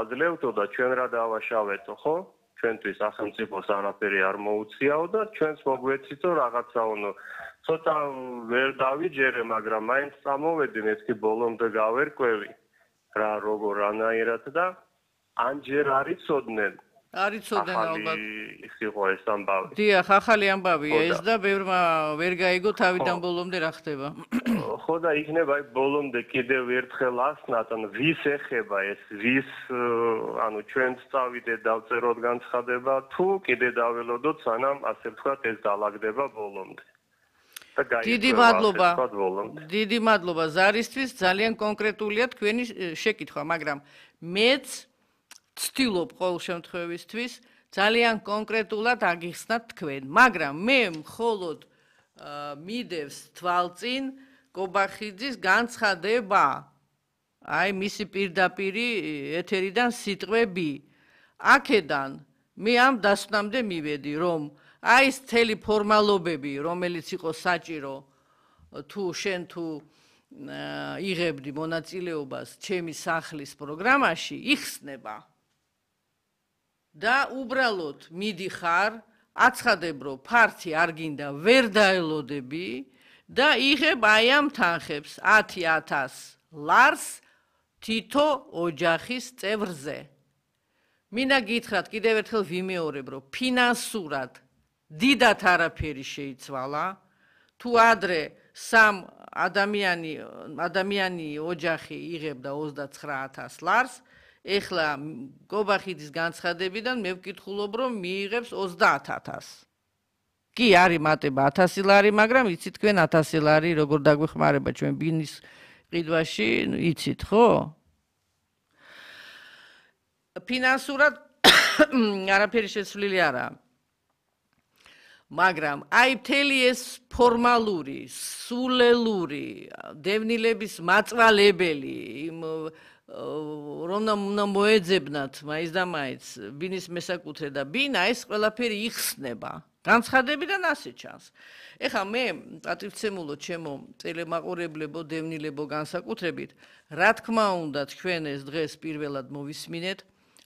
აძლევთო და ჩვენ რა დავაშავეთო, ხო? ჩვენთვის სახელმწიფოს არაფერი არ მოუციაო და ჩვენს მოგვეცითო რაღაცაო ცოტა ვერ დავიჯერე, მაგრამ მაინც წამოვედი, მეთქი ბოლომდე გავერკვევი რა როგორ რანაირად და ანჯერ არიცოდნენ. არიცოდნენ ალბათ. ის იყო ეს ამბავი. დიახ, ახალი ამბავია ეს და ბევრმა ვერ გაიგო თავიდან ბოლომდე რა ხდება. ხო და იქნება ბოლომდე კიდევ ერთხელ ასნათ, ანუ ვის ეხება ეს, ვის ანუ ჩვენც წავიდეთ დავწეროთ განცხადება, თუ კიდე დაველოდოთ, სანამ ასე ვთქვათ ეს დაალაგდება ბოლომდე. დიდი მადლობა. დიდი მადლობა ზარისთვის, ძალიან კონკრეტულია თქვენი შეკითხვა, მაგრამ მეც ვცდილობ ყოველ შემთხვევისთვის ძალიან კონკრეტულად აგიხსნათ თქვენ, მაგრამ მე მხოლოდ მიდევს თვალწინ კობახიძის განცხადება. აი მისი პირდაპირი ეთერიდან სიტყვები. აქედან მე ამ დასვნამდე მივედი, რომ აი ეს მთელი ფორმალობები, რომელიც იყო საჭირო თუ შენ თუ იღებდი მონაწილეობას ჩემი სახლის პროგრამაში, იხსნება. და უბრალოდ მიდიხარ, აცხადებ, რომ ფართი არ გინდა, ვერ დაელოდები და იღებ აი ამ თანხებს 10,000 ლარს თითო ოჯახის წევრზე. მინდა გითხრათ კიდევ ერთხელ ვიმეორებ, რომ ფინანსურად დიდათ არაფერი შეიცვალა, თუ ადრე სამ ადამიანი ოჯახი იღებდა 29,000 ლარს, ეხლა კობახიძის განცხადებიდან მე ვკითხულობ, რომ მიიღებს 30,000. კი, არის მატება 1000 ლარი, მაგრამ იცით თქვენ 1000 ლარი როგორ დაგვეხმარება ჩვენ ბინის ყიდვაში, იცით, ხო? ფინანსურად არაფერი შეცვლილი არაა. მაგრამ აი მთელი ეს ფორმალური, სულელური, დევნილების მაწვალებელი, რომ უნდა მოეძებნათ მაინც და მაინც ბინის მესაკუთრე და ბინა ეს ყველაფერი იხსნება. განცხადებიდან ასე ჩანს. ეხლა მე პატივცემულო ჩემო ტელემაყურებლებო, დევნილებო განსაკუთრებით, რა თქმა უნდა თქვენ ეს დღეს პირველად მოვისმინეთ,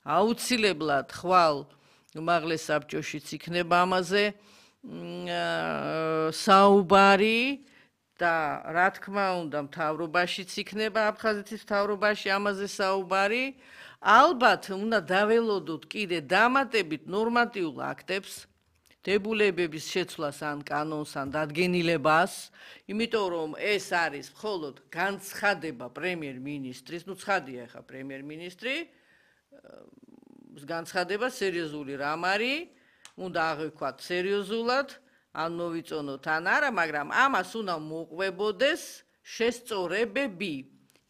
აუცილებლად ხვალ უმაღლეს საბჭოშიც იქნება ამაზე საუბარი და რა თქმა უნდა მთავრობაშიც იქნება აფხაზეთის მთავრობაში ამაზე საუბარი. ალბათ უნდა დაველოდოთ კიდე დამატებით ნორმატიულ აქტებს, დებულებების შეცვლას ან კანონს ან დადგენილებას, იმიტომ რომ ეს არის მხოლოდ განცხადება პრემიერ-მინისტრის, ნუ ცხადია ახლა პრემიერ-მინისტრი, განცხადება სერიოზული რამ არის, უნდა აღვიქვათ სერიოზულად, ან მოვიწონოთ ან არა, მაგრამ ამას უნდა მოყვებოდეს შესწორებები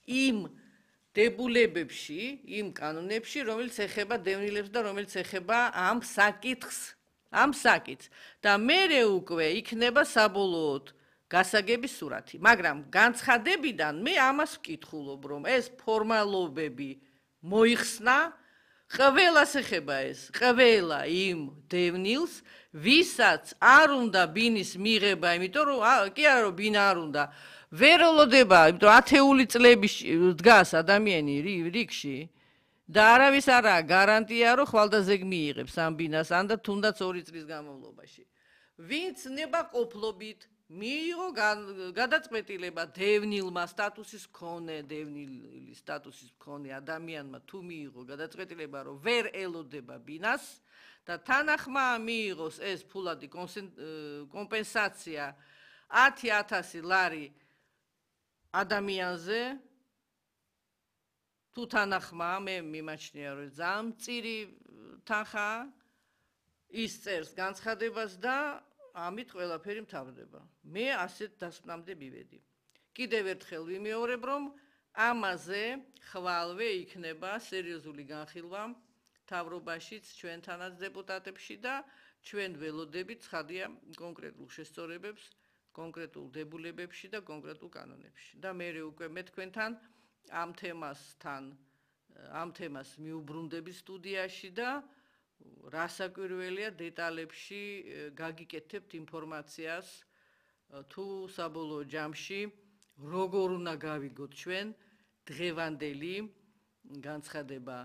იმ დებულებებში, იმ კანონებში, რომელიც ეხება დევნილებს და რომელიც ეხება ამ საკითხს. და მერე უკვე იქნება საბოლოოდ გასაგების სურათი. მაგრამ განცხადებიდან მე ამას ვკითხულობ, რომ ეს ფორმალობები მოიხსნა, ყველას ეხება ეს, ყველა იმ დევნილს, ვისაც არ უნდა ბინის მიღება, იმიტომ რომ კი არა რომ ბინა არ უნდა, ვერ ელოდება, იმიტომ ათეული წლები დგას ადამიანი რიგში. და არავის არაა გარანტია, რომ ხვალდაზე მიიღებს ამ ბინას, ან და თუნდაც 2 წლის განმავლობაში. ვინც ნებაყოფლობით მიიღო გადაწყვეტილება დევნილმა სტატუსის მქონე, დევნილის სტატუსის მქონე ადამიანმა თუ მიიღო გადაწყვეტილება, რომ ვერ ელოდება ბინას და თანახმა მიიღოს ეს ფულადი კომპენსაცია 10,000 ლარი ადამიანზე, თუ თანახმა მე მიმაჩნია რომ ძალიან მწირი თანხაა, ის წერს განცხადებას და ამით ყველაფერი მთავრდება. მე ასეთ დასკვნამდე მივედი. კიდევ ერთხელ ვიმეორებ, რომ ამაზე ხვალვე იქნება სერიოზული განხილვა მთავრობაშიც, ჩვენთანაც დეპუტატებში და ჩვენ ველოდებით ცხადია კონკრეტულ შესწორებებს, კონკრეტულ დებულებებში და კონკრეტულ კანონებში. და მე უკვე მე თქვენთან ამ თემას მიუბრუნდები სტუდიაში და რასაკვირველია დეტალებში გაგიკეთებთ ინფორმაციას თუ საბოლოო ჯამში როგორ უნდა გავიგოთ ჩვენ დღევანდელი განცხადება